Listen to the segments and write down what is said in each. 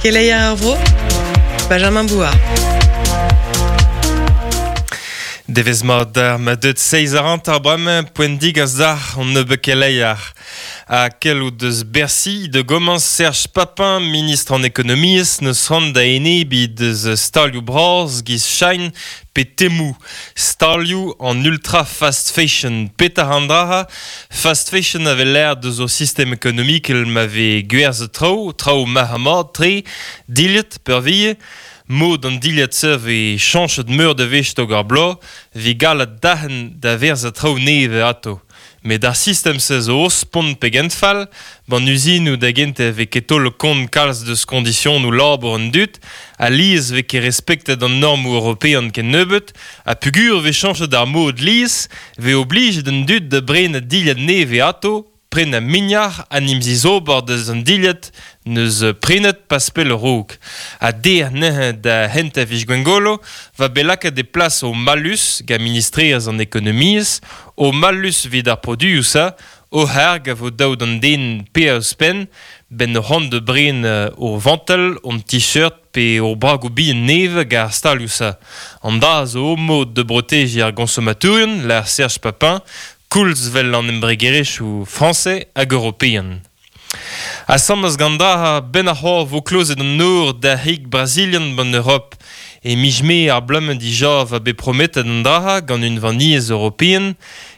Keleier ar vro, Benjamin Bouard. Devezh mat d'ar ma deut seizh a hanter bremañ poent digas dac'h an nebeud keleier. Ha keloù deus Bercy da gomañs Serge Papin, ministr an ekonomiezh, n'eus c'hoant da enebiñ deus stalioù bras giz Shine pe Temu, stalioù an ultra fast fashion. Petra an dra Fast fashion a vez lâret deus ur sistem ekonomikel ma vez gwerzhet traoù, traoù marc'h-mat-tre, dilhad peurvuiañ. Mod an dilhad-se vez chañchet meur da wech tog ar bloaz, 'vit gallet derc'hen da werzhañ traoù nevez atav. Met ar sistem-se zo ouzhpenn pegen fall, b'an uzinoù da gentañ e vez ket taol kont kalz deus koñdisionoù labour an dud, alies 'vez ket respektet an normoù european kennebeut, ha peogwir e vez chañchet ar mod lies, 'vez oblijet an dud da brenañ dilhad nevez atav, prenañ mignac'h ha 'n em zizober deus an dilhad 'neus prenet pas pell a-raok. Ha dec'h neuze da c'hentañ viz Gwengolo 'va bet lakaet e plas o mallus gant ministrerezh an ekonomiezh, o mallus evit ar produioù-se, o c'harg a vo dav d'an den paeañ ouzhpenn, 'benn o c'hoant da brenañ o vantell, hon t-shirt pe o bragoù bihan nevez gant ar stalioù-se. An dra zo o mod da brotejiñ ar goñsomatourien, lâr Serge Papin, koulz 'vel an embregerezhioù frañsez hag european. Asambles gant dra 'benn ar c'horf 'vo klozet an nor d'ar c'hig brazilian 'ban Europ. E miz Mae ar bloaz-mañ dija 'va bet prometet an dra gant Unvaniezh European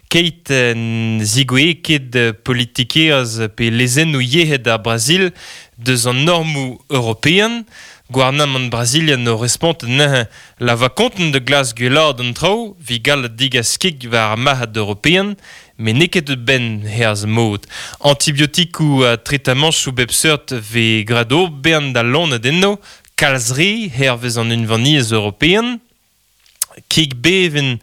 keit n zigouezhe ket politikerezh pe lezennoù yec'hed ar Brazil deus an normoù european. Gouarnamant brazilian o respontet neuze la va kontant da glask gwellaat an traoù 'vit gallout degas kig war ar marc'had european met n'eo ket benn herz mod. Antibiotikoù ha tretamanchoù bep seurt 'vez graet o bern da loened enno, kalz re hervez an Unvaniezh european. Kig bevin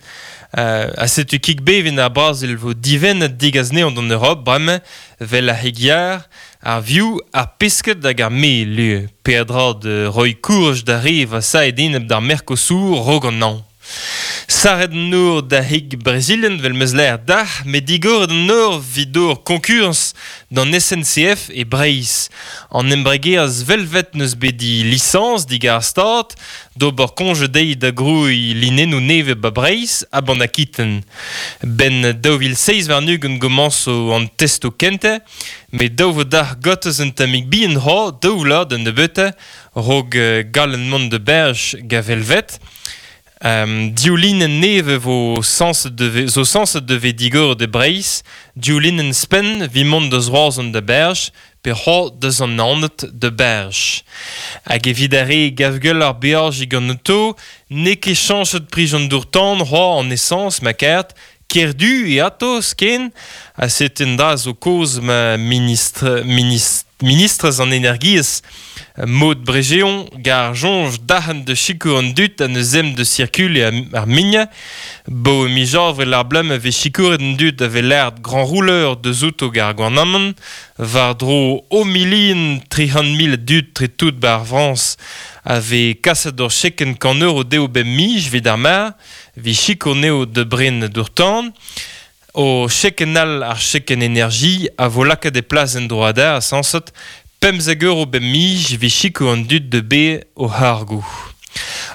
ha setu kig bevin ar Brazil 'vo divennet degas anezhañ d'an Europ bremañ 'vel ar c'hig-yar, ar vioù, ar pesked hag ar mel ivez. Peadra da roiñ kouraj d'ar re vasaet enep d'ar Mercosur 'raok an hañv. Sarret an nor da c'hig brazilian 'vel 'meus lâret dac'h, met digoret an nor 'vit ober koñkurañs d'an SNCF e Breizh. An embregerezh Velvet 'neus bet he lisañs digant ar Stad d'ober koñje dezhi da grouiñ linennoù nevez 'ba Breizh ha 'ban Akiten. 'Benn 2027 gomañso an testoù kentañ, met dav 'vo dac'h gortoz un tammig bihan c'hoazh daou vloaz da nebeutañ 'raok gallen mont da Berj gant Velvet. Div linenn nevez vo sañset da ve- zo sañset da vez digoret e Breizh. Div linenn spenn evit mont da Roazhon da Berj pe c'hoazh da Sant-Naoned da Berj. Hag evit ar re gav gwelloc'h beajiñ gant oto, n'eo ket chañchet prij an dour-tan c'hoazh an esañs ma karet, Kerdu eo atos ken ha setu un dra zo kaoz ma ministr, ministr, ministrez an energiezh Maud Bregeon gar soñj darc'hant da sikour an dud ha n'eus ezhomm da sirkuliñ ar mignañ. Bo miz avril ar bloaz ma vez sikouret an dud a vez lâret grand rouleur deus outo gant ar gouarnamant war-dro o milion 300 000 a dud tre tout 'ba ar Frañs a vez kaset ur chekenn kant euro dezho bep miz evit ar mar. 'Vit sikour 'neo da bren dour-tan. O chekenn all ar chekenn energie a vo lakaet e plas en-dro adarre sañset 15 euro bep miz 'vit sikour an dud da baeañ o c'hargoù.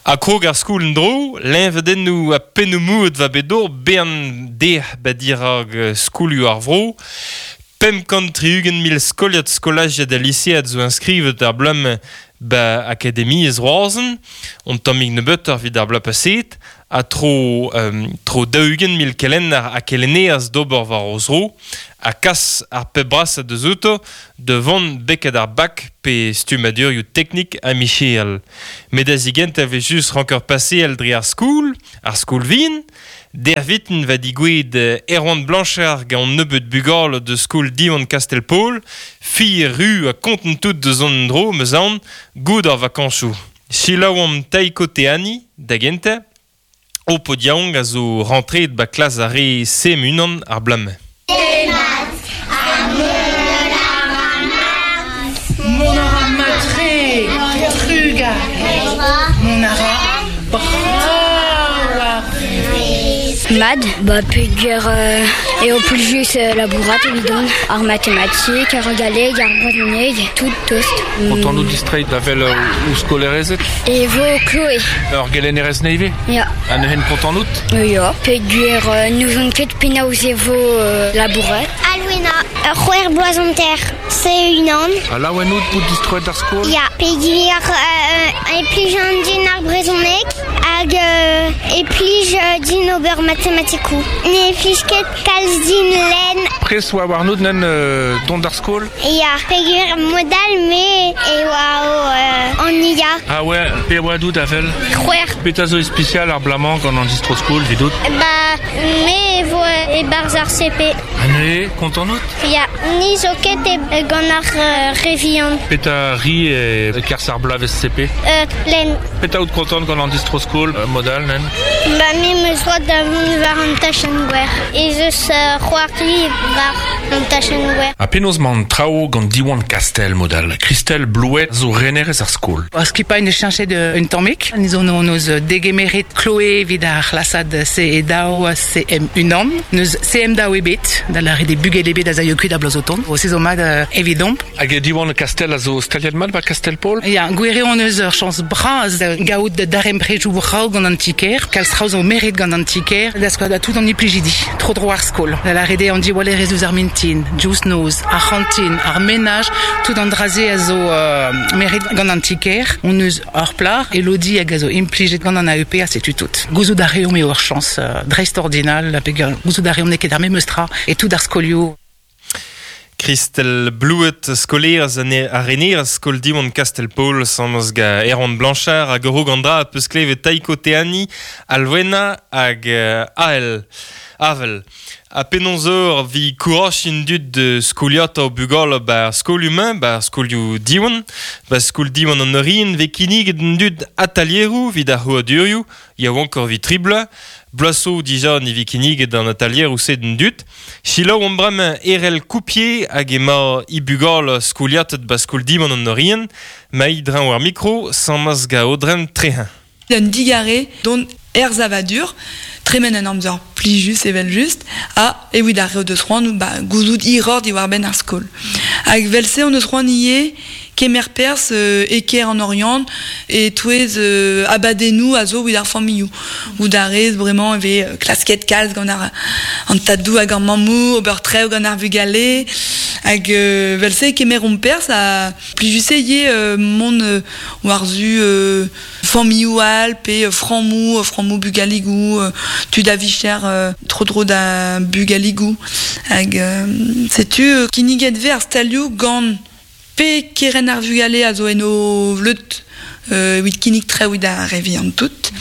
Ha krog ar skol en-dro, leñvadennoù ha pennoù-mouet 'va bet d'ober bern dec'h 'ba dirak skolioù ar vro. 560 mil skoliad skolajiad ha lisead zo inskrivet ar bloaz-mañ 'ba akademiezh Roazhon, un tammig nebeutoc'h evit ar bloaz paseet, ha tro tro 40 000 kelenner ha kelennerez d'ober war o zro, ha kas ar pep brasañ deus outo da vont betek ar bak pe stummadurioù teknik ha micherel. Met da zigentañ e vez just ranker paseal dre ar skol, ar skol vihan, Derviten va digouezhet Erwan Blanchard gant un nebeud bugale deus skol Diwan Kastell-Paol, fier ru ha kontant tout deus an endro, 'm eus aon, goût ar vakañsoù. Selaouomp Taiko Teani, da gentañ. Ho paotr yaouank a zo rentreet 'ba klas ar re CM1 ar bloaz-mañ. Demat ha mont a ra mat. Mont a ra mat-tre, trugarez. Mont a ra brav ar vuhez. Mad, ba peogwir eo plijus labourat evidon. Ar matematik, ar galleg, ar brezhoneg, tout tost. Kontant out distreiñ da wel ouzh skolerezed? E vo Chloé. Ur gelennerez nevez? Ya. Ha neuze kontant out? Ya, peogwir n'ouzon ket penaos e vo labourat. Alwena, ur c'hwec'h bloaz hanter, se unan. Ha laouen out bout distroet d'ar skol? Ya, peogwir e plij an din ar brezhoneg hag e plij din ober matematikoù. Ne plij ket kalz din lenn. Pres oa warnout nen dont d'ar skol? Ya, peogwir mod all me e oa o an IA. Ah ouais, pe oa dout avel? C'hwec'h. Petra zo ispisial ar blamañ gant an distro-skol 'vidout? Ba, me e vo e-barzh ar CP. Ha neuze, kontant out? Ya, ni zo ket e gant ar re vihan. Petra ri e-kerzh ar bloavezh CP? Lenn. Petra out kontant gant an distro-skol mod all, nen? Ba, me 'm eus droad da vont war an tachenn gwer. Ez eus c'hoari war an tachenn gwer. Ha penaos 'mañ an traoù gant Diwan Kastell mod all? Christelle Blouet zo renerez ar skol. Ar skipailh 'neus cheñchet un tammig. Ni zo hon eus degemeret Chloé evit ar c'hlasad CE2 CM1. N'eus CM2 ebet, da lâret eo bugel ebet a zaio kuit a bloaz o tont. Se zo mat evidomp. Hag Diwan Kastell a zo staliet mat 'ba Kastell-Paol? Ya, gwir eo hon eus ur chañs bras da gaout darempredoù brav gant an ti-kêr. Kalz traoù zo meret gant an ti-kêr da skouer da tout an implijidi tro-dro ar skol. Da lâret eo an diwallerezh ouzh ar mintin, diouzh noz, ar c'hantin, ar menaj, tout an dra-se a zo meret gant an ti-kêr. Hon eus ur plac'h, Elodie, hag a zo implijet gant an AEP ha setu tout. Gouzout a reomp eo ur chañs dreistordinal, peogwir gouzout a reomp n'eo ket ar memes tra e tout ar skolioù. Christelle Blouet, skolaerez ha renerez skol Diwan Kastell-Paol, sañs gant Erwan Blanchard hag ur an dra peus klevet Taiko Teani, Alwena hag Ael. Avel. Ha penaos eur vi kourachin dud de skoliata o bugale ba skolioù-mañ, ba skolioù Diwan, ba skol Diwan an Orient, ve kinniget an dud atalieroù evit ar c'hrouadurioù, yaouank ur vi tri bloaz, bloaz zo dija ne vi kinniget an atalieroù-se d'an dud. Selaou omp bremañ Erell Coupier hag emañ he bugale skoliatet ba skol Diwan an Orient, ma dreñv ar mikro, sañs ga Aodren Trehin. Un digarez dont er savadur, tremen un amzer plijus evel-just, ha evit ar re o deus c'hoant ba, gouzout hiroc'h diwar-benn ar skol. Hag evel-se hon eus c'hoant ivez kemer perzh e kêr an Oriant e-touez abadennoù a zo evit ar familhoù. Goût a rez bremañ e vez klasket kalz gant ar an tadoù hag ar mammoù, ober traoù gant ar vugale. Hag evel-se e kemeromp perzh ha plijus eo ivez mont war-zu familhoù all pe frammoù, frammoù bugaligoù, tud a vicher tro-dro da bugaligoù. Hag setu kinniget 'vez ar stalioù gant pe kerent ar vugale a zo en o vleud evit kinnig traoù evit ar re vihan tout,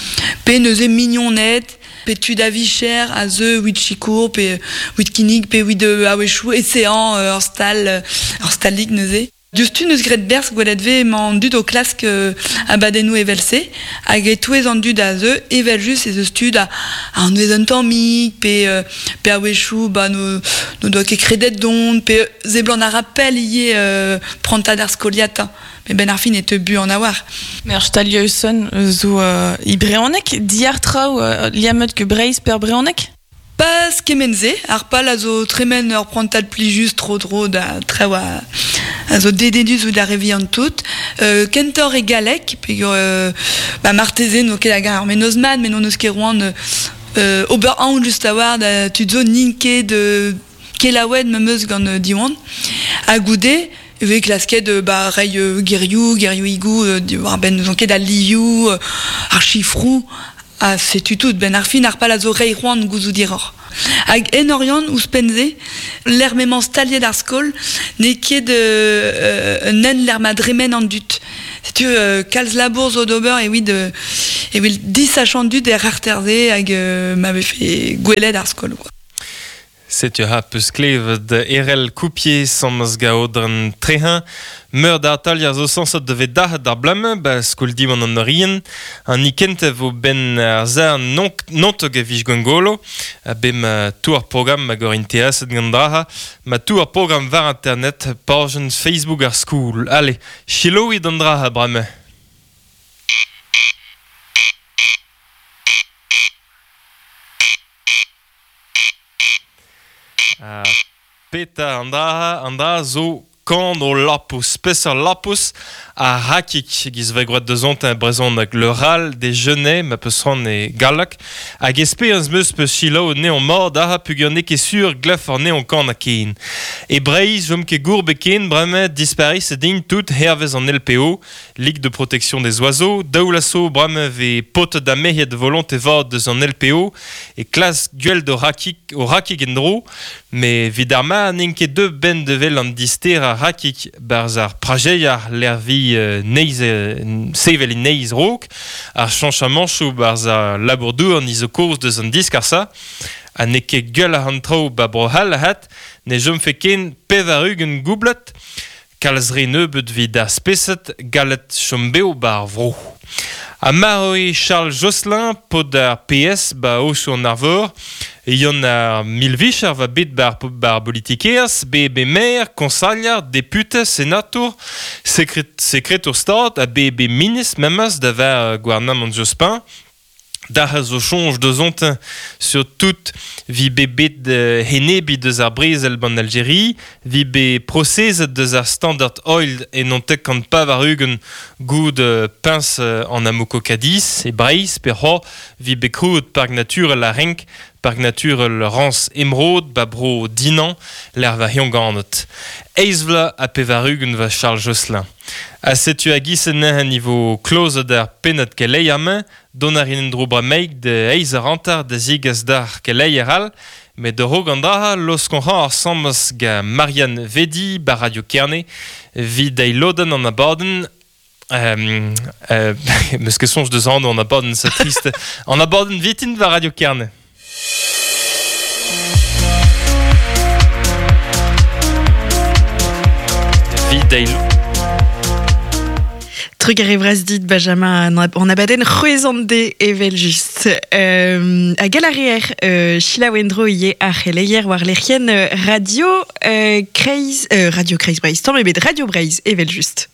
pe neuze mignoned, pe tud a vicher a zeu evit sikour, pe evit kinnig, pe evit a-wechoù eseañ ur stal, ur stalig neuze. Diouzhtu 'neus graet berzh gwelet 'vez emañ an dud o klask abadennoù evel-se hag e-touez an dud a zeu evel-just ez eus tud a anvez un tammig pe pe a-wechoù ba n'o doa ket kredet dont pe seblant a ra pell ivez prantad ar skoliata met 'benn ar fin e teu buan a-walc'h. Met ar stalioù-son zo e brezhoneg, diàr traoù liammet ket Breizh pe ar brezhoneg? Pas kement-se, ar pal a zo tremen ur prantad plijus tro-dro da traoù a zo dedennus ouzh ar re vihan tout. Kentoc'h e galleg, peogwir ba marteze n'o ket hag ar mennozh mat, met n'hon eus ket c'hoant ober aon just a-walc'h da tud zo n'int ket kelaouet memes gant Diwan. Ha goude e vez klasket ba reiñ gerioù, gerioùigoù diwar-benn n'ouzon ket al livioù, ar sifroù. Ha setu tout, 'benn ar fin ar pal a zo reiñ c'hoant gouzout hiroc'h. Hag en Oriant, ouzhpenn-se, lec'h m'emañ staliet ar skol, n'eo ket un hent lec'h ma dremen an dud. Setu kalz labour zo d'ober evit evit disachañ an dud er c'harter-se hag ma vefe gwelet ar skol. Quoi. Setu ha peus klevet Erell Coupier sañs gaodren Trehin. Meur da atalier zo sañset da vet dac'het d'ar blame, ba skol Diwan an Orient. An ni kentañ vo ben ar zar nontog a vij Gwengolo. A be ma tou ar programm hag ur inteaset gant draha. Ma tou ar programm war internet, pajenn Facebook ar skoul. Allez, chiloit an draha bremañ. Peta an dra zo kan o lapous, peseurt lapous a rakik giz ve groet deus ont un brezhoneg le ral des genets ma peus ran e gallek hag esperans meus peus chilaou ne on mord aha pugur ne ket sur glef ar ne on kan a ken. E Breizh jom ket gour beken bremañ disparis din tout hervez an LPO, Ligue de protection des oiseaux, daoulaso bremañ ve pot da mehiet volonté vat deus an LPO e klas gwell do rakik o rakik en-dro, me vid ar ma n'int ket deux ben de vel an dister a rakik barz ar prajeiar l'ervi neiz sevel in neiz rok, ar chanchamanchou barz ar labourdour niz o koz deus an disk ar sa, ha ne ket gwell ar an traoù ba bro hall hat, ne jom fe ken pevar-ugent goublet, kalz re nebeut vid ar speset galet chom beo ba ar vro. Ha mar eo Charles Josselin pod ar PS ba osu an arvor, yon ar milvicher va bet bar, bar politikerz, be be maire, konsagliar, député, sénator, sekretour stad, ha be be ministre memes da ver gouarnamant Jospin, Dar zo chonj deus ont sur tout vi be bet henebi deus ar brezel ban Algérie, vi be prosezet deus ar Standard Oil en on tek kant pavar ugent goud pins an amoko Cadiz, e Breiz, pe ho vi be krouet park naturel a renk, park naturel Rans Emeraude, ba bro Dinan, l'er va ganet. Eizvla a pevar ugent va Charles Josselin. A setu a gisen a niveau klozet ar pennad keleier don ar in dro bremaik de eiz ar antar da zigas d'ar keleier all, met de rog an draha los kon ar sambas ga Marianne Vedi ba Radio Kerne vid dei loden an abaden meus ket soñj deus an abaden sa triste an abaden vitin va Radio Kerne. Vid dei Trugarez vras dit Benjamin an abadenn c'hwezant de evel just. A galarier Sheila Wendro ie ar c'heleier war lec'hien radio Kreiz Radio Kreiz Breizh, tamm ebet Radio Breizh evel just.